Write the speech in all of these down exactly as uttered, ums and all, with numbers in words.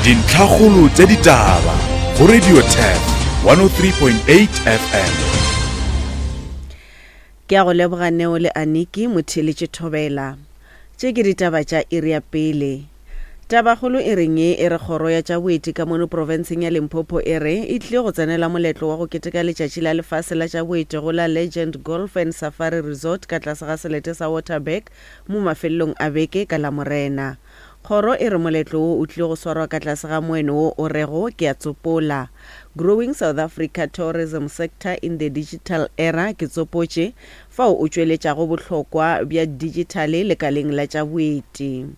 Dintlhakgolo tša ditaba go Radio Turf one oh three point eight F M. Ke a go leboga Neo le Aniki motheeletše thobela. Tše ke ditaba tša iri ya pele. Tabakgolo e reng ye e re kgoro ya tša boeti ka mono profenseng ya Limpopo e re e tlile go tsenela moletlo wa go keteka letšatši la lefase la tša boeti go la Legend Golf and Safari Resort ka tlase ga selete sa Waterberg mo mafelelong a beke ka Lamorena. Kgoro e re moletlo wo o tlile go swarwa ka tlase ga moeno wo o rego ke a tsopola, Growing South Africa Tourism Sector in the Digital Era ke tsopotše, fao o tšweletšago bohlokwa bja dijithale lekaleng la tša boeti.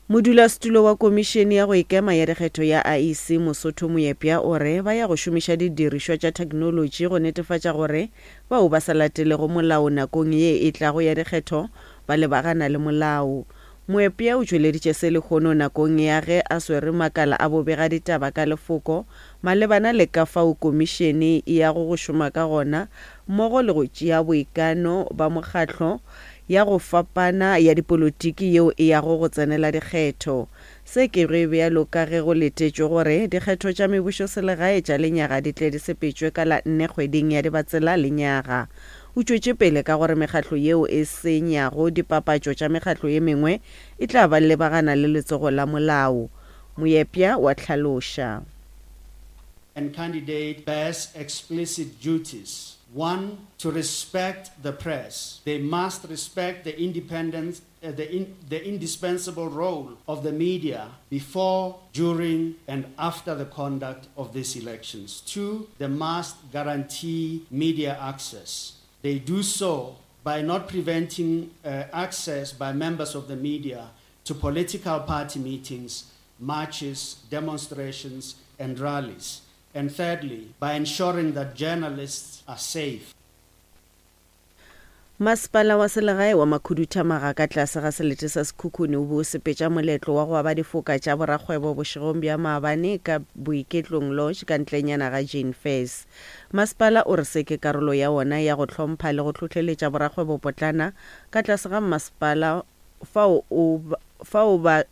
Modulasetulo wa Komišene ya go Ikema ya Dikgetho ya I E C Mosotho Moepya o re ba ya go šomiša didirišwa tša theknolotši go netefatša gore bao ba sa latelego molao nakong ye e tlago ya dikgetho ba lebagana le molao. Moepya o tšweleditše se lehono nakong ya ge a swere makala a bobegaditaba ka lefoko malebana le ka fao komišene e yago go šoma ka gona mmogo le go tšea boikano ba mokgatlo ya go fapana ya dipolotiki yeo e yago go tsenela dikgetho. Se ke ge bjalo ka ge go letetšwe gore dikgetho tša mebušoselegae tša lenyaga di tle di sepetšwe ka la nne kgweding ya Dibatsela lenyaga. O tšwetše pele ka gore mekgatlo yeo e senyago dipapatšo tša mekgatlo ye mengwe e tla ba lebagana le letsogo la molao. Moepya wa hlaloša. And candidate bears explicit duties. One, to respect the press. They must respect the independence, uh, the, in, the indispensable role of the media before, during, and after the conduct of these elections. Two, they must guarantee media access. They do so by not preventing, uh, access by members of the media to political party meetings, marches, demonstrations, and rallies. And thirdly, by ensuring that journalists are safe. Masepala wa selegae wa Makhuduthamaga ka tlase ga selete sa Sekhukhune o be o sepetša moletlo wa go aba difoka tša borakgwebo bošegong bja maabane ka Boiketlong Lodge ka ntlenyana ga Jane Fairs. Masepala o re se ke karolo ya wona ya go hlompha le go hlohleletša borakgwebo potlana ka tlase ga masepala fao o fao ba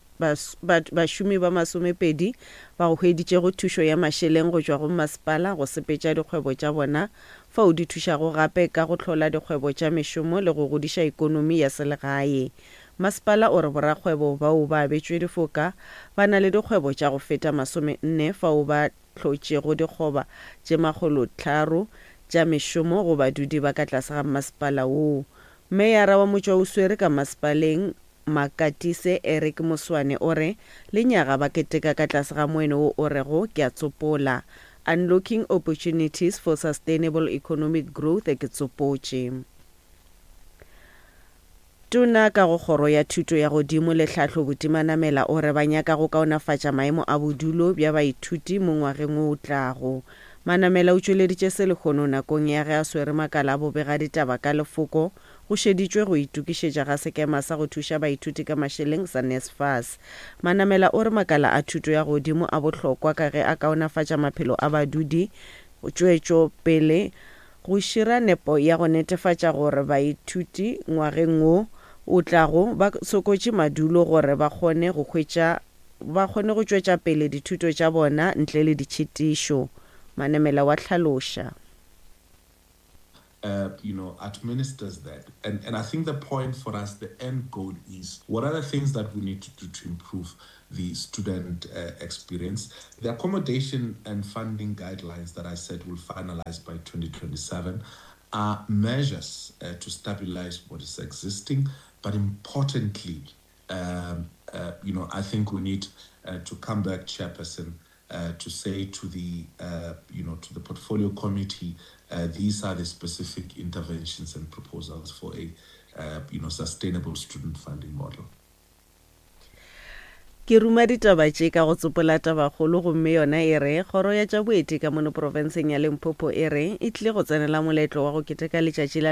bašomi ba masomepedi ba go hweditšego thušo ya mašeleng go tšwa go masepala go sepetša dikgwebo tša bona fao di thušago gape ka go hlola dikgwebo tša mešomo le go godiša ekonomi ya selegae. Masepala o re borakgwebo bao ba abetšwe difoka ba na le dikgwebo tša go feta masomenne fao ba hlotšego dikgoba tše makgolotharo tša mešomo go badudi ba ka tlase ga masepala woo. Meyara wa Motšwaoswere ka masepaleng Makatise Eric Moswane o re lenyaga ba keteka ka tlase ga moeno wo o rego ke a tsopola, Unlocking Opportunities for Sustainable Economic Growth ke tsopotše. Tona ka go kgoro ya thuto ya godimo le tlhahlo Buti Manamela o re ba nyaka go kaonafatša maemo a bodulo bja baithuti mo ngwageng wo o tlago. Manamela o tšweleditše se lehono nakong ya ge a swere makala a bobegaditaba ka lefoko go šeditšwe go itokišetša ga sekema sa go thuša baithuti ka mašeleng sa NSFAS. Manamela o re makala a thuto ya godimo a bohlokwa ka ge a kaonafatša maphelo a badudi tšwetšo pele go šira nepo ya go netefatša gore baithuti ngwageng wo o tlago ba sokotše madulo gore ba kgone go hwetša ba kgone go tšwetša pele dithuto tša bona ntle le ditšhitišo. Manamela wa hlaloša. Uh, you know, administers that. And, and I think the point for us, the end goal is, what are the things that we need to do to improve the student, uh, experience? The accommodation and funding guidelines that I said will finalize by twenty twenty-seven are measures, uh, to stabilize what is existing. But importantly, um, uh, you know, I think we need, uh, to come back, Chairperson, uh, to say to the, uh, you know, to the portfolio committee, uh, these are the specific interventions and proposals for a, uh, you know, sustainable student funding model. Ke ruma ditaba tše ka go tsopola tabakgolo gomme yona e re kgoro ya tša boeti ka mono profenseng ya Limpopo e re e tlile go tsenela moletlo wa go keteka letšatši la